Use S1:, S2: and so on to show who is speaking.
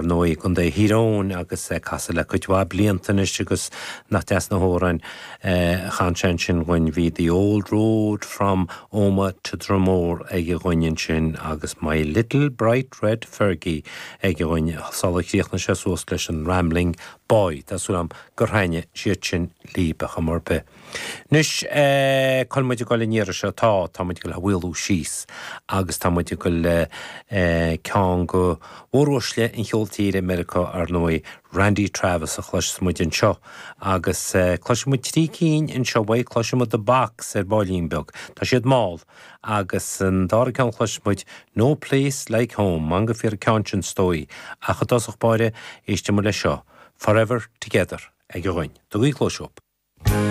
S1: Ndóigh, i gContae Thír Eoghain agus é casadh le cuid mhaith blianta anois agus nach deas na hamhráin a chan sé ansin dhúinn. Bhí The Old Road from Omagh to Dromore aige dhúinn ansin agus My Little Bright Red Fergie aige dhúinn sular chríochnaigh sé suas leis an Rambling Boy. Tá súil agam gur thaitnigh siad sin libh ar chuma ar bith. Anois, cá bhfuil muid ag dul an iarraidh seo? Tá, tá muid ag dul a mhaolú síos agus tá muid ag dul le ceann de mhóruaisle an cheoil tíre i Meiriceá, ar ndóigh, Randy Travis a chloisfeas muid anseo. Agus cloisfidh muid trí cinn anseo uaidh, cloisfidh muid The Box ar baillín beag, tá siad mall, agus an dara ceann a chloisfidh muid, No Place Like Home, meangadh fíor an ceann sin is dóigh, ach i dtosach báire, éistfidh muid leis seo, Forever Together. Ag a dhuine. Tugaigí cluais dhób.